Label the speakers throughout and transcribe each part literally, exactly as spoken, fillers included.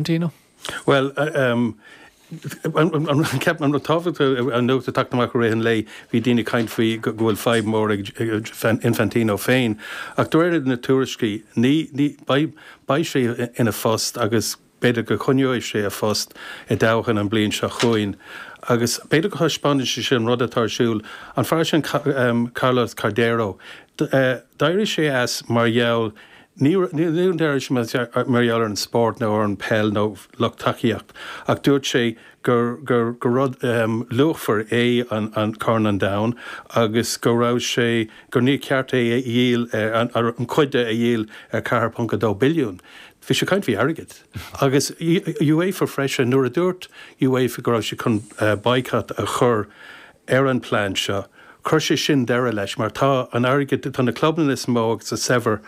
Speaker 1: Infantino?
Speaker 2: Well, um, ceap an tábhacht an nuacht atá tagtha amach rith an lae bhí daoine ag caint faoi go bhfuil fadhb mór ag Infantino féin. Ach de réir na tuairiscí ní beidh sé ina phost agus b'fhéidir go coinneoidh sé a phost i dtoghchán an bliain seo chugainn. Agus b'fhéidir go thaispeánann sé sin rud atá ar siúl an fear sin Carlos Cordeiro. D'éirigh sé as mar gheall Ní d'éirigh sé mar gheall ar an spórt nó ar an peil nó lucht tacaíocht, ach dúirt sé gur gur gur rud um, luachmhar é an, an Corn an Domhain agus go raibh sé gur ní ceart é a dhíol an, an chuid a dhíol ar ceathair ponc a dó billiún. Bhí sé caint faoi airgead. Agus UEFA freisin nuair a dúirt UEFA go raibh sé chun uh, boycott a chur ar an plean seo. Chuir sé sin deireadh leis mar tá an airgead tá na clubanna is mó agus is saibhre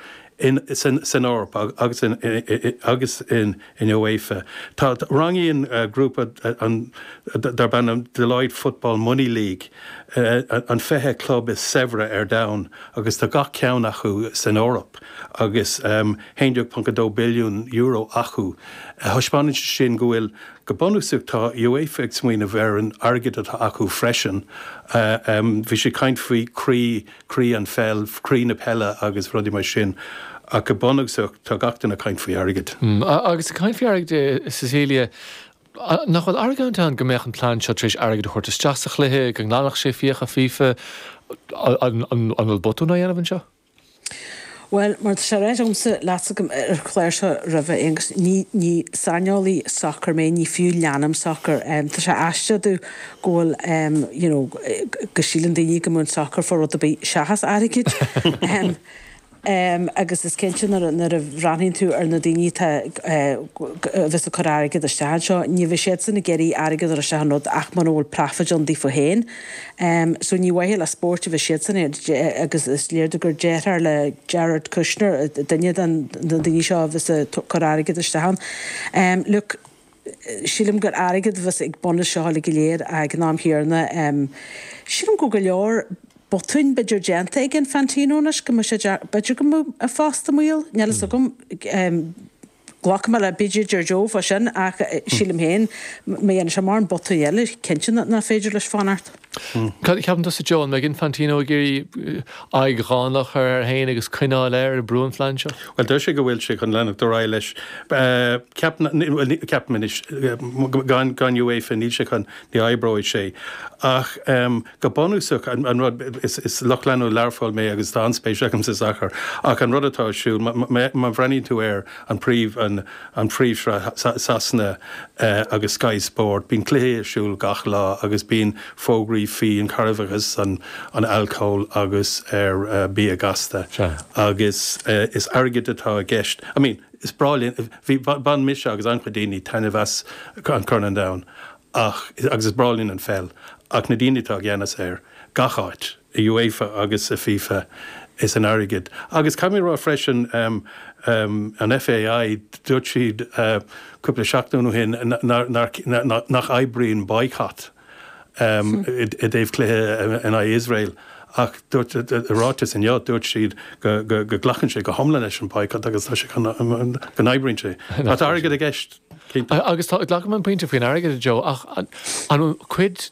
Speaker 2: in san san Eoraip agus in agus in in UEFA. Tá rangaíonn uh, grúpa uh, an darb ainm Deloitte Football Money League uh, an fiche club is saibhre ar domhan agus tá gach ceann acu san Eoraip agus um, haon déag ponc dó billiún euro acu. Uh, Thaispeánann sin go bhfuil go bunúsach tá UEFA ag smaoineamh ar an airgead atá acu freisin. Uh, um, bhí sé caint faoi croí croí an pheil, croí na peile agus rudaí mar sin. ach go bunúsach tá gach duine ag caint faoi airgead.
Speaker 1: Mm, agus ag caint faoi airgead Cecilia, nach bhfuil argóint ann go mbeadh an plean seo tar éis airgead a thabhairt isteach sa chluiche go nglanfadh sé fiacha FIFA an bhfuil botún á dhéanamh anseo?
Speaker 3: Well, mar sé agamsa leat ar chlár seo roimhe agus ní ní saineolaí sacair mé ní fiú leanaim sacar. Um, tá sé aisteach go bhfuil um, you know, go síleann daoine go mbíonn sacar faoi rud ar bith seachas airgead. um, Um, agus is cinnte nuair a bhreathnaíonn tú ar na daoine a bheas ag cur airgead isteach anseo, ní bheidh siadsan ag iarraidh airgead ar isteach an rud ach mura bhfuil profit ann daofa féin. Um, so ní mhaithe le spórt a bheidh siadsan agus is léir gur deartháir le Jared Kushner duine den na daoine seo a bheas ag cur airgead isteach ann. Um, look, sílim gur airgead a bheas ag bun seo le go léir ag an am céanna. Um, sílim go go leor botúin b'fhéidir déanta ag Infantino anois go mbeidh sé b'fhéidir go mbeidh a phost i mbaol níl a fhios agam Glacaim le b'fhéidir deir Joe fá sin ach sílim féin má dhéanann sé mórán botúin eile cinnte nach féidir leis fanacht.
Speaker 1: Cad a cheapann tusa Joe an mbeidh Infantino ag iarraidh aghaidh dhánach a chur air féin agus coinneáil air ag brú an phlean seo?
Speaker 2: Well deir sé go bhfuil sé chun leanacht ar aghaidh leis. Ceapaim anois gan gan UEFA níl sé chun ní oibreoidh sé. Ach um, go bunúsach an, an rud is, is lucht leanúna Learpholl mé agus tá an-spéis agam sa sacar ach an rud atá ar siúl má bhreathnaíonn tú ar an príomh an, an phríomhshraith Sasana uh, agus Sky Sport, bíonn cluiche ar siúl gach lá agus bíonn fógraí faoi an carbhachas an, an alcól agus ar uh, bia gasta agus uh, is airgead atá i gceist. I mean, is breá linn bhí bhain mise agus an-chuid daoine taitneamh as an Corn an Domhain ach agus is breá linn an pheil ach na daoine atá i gceannas air gach áit i UEFA agus i FIFA is an airgead. Agus caithfidh mé rá freisin um, um, an FAI dúirt siad uh, cúpla seachtain ó shin nach oibríonn boycott um, i dtaobh cluiche in aghaidh Israel. Ach dúirt ráiteas inniu dúirt siad go nglacann sé go hiomlán leis an boycott agus tá sé go n-oibríonn sé. Tá airgead i gceist.
Speaker 1: Agus glacaim an pointe faoin airgead Joe ach an cuid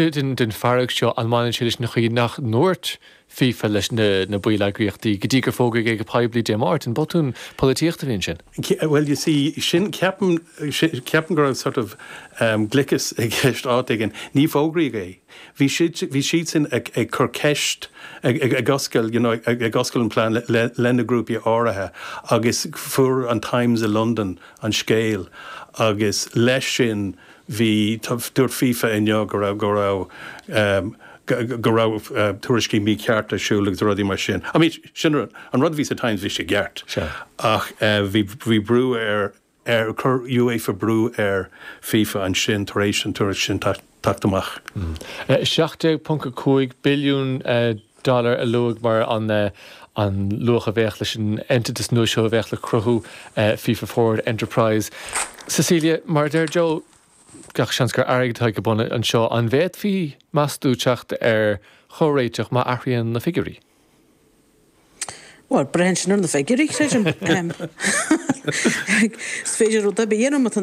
Speaker 1: den den fearg seo an mbaineann sé leis an chaoi nach ndúirt FIFA leis na na baill eagraíochtaí go dtí gur fógraíodh é go poiblí Dé Máirt an botún polaitíochta a bhí ansin.
Speaker 2: Well you see sin ceapaim ceapaim go raibh sort of um, gliceas i gceist áit éigin ní fógraíodh é. Bhí siad bhí siad sin ag, ag cur ceist ag, ag, ag oscail you know, ag, ag oscail an plean le, le, le na grúpaí áirithe agus fuair an Times i London an scéal agus leis sin bhí dúirt FIFA inniu go raibh go raibh um, go raibh uh, tuairiscí mícheart ar siúl agus rudaí mar sin. I mean, sin an rud bhí sa Times bhí sé ceart ach uh, bhí bhí brú ar ar chuir UEFA brú ar FIFA ansin tar éis an tuairisc sin teacht amach.
Speaker 1: Mm. seacht déag ponc cúig billiún dollar a luadh mar an an luach a bheadh leis an eintiteas nua seo a bheadh le cruthú FIFA Forward Enterprise. Cecilia, mar deir Joe gach seans gur airgead atá ag bun anseo an bhféadfaí meas tú teacht ar chomhréiteach má athraíonn na figiúirí.
Speaker 3: Well, braitheann sin ar na figiúirí, creidim. Is féidir rud ar bith a dhéanamh má tá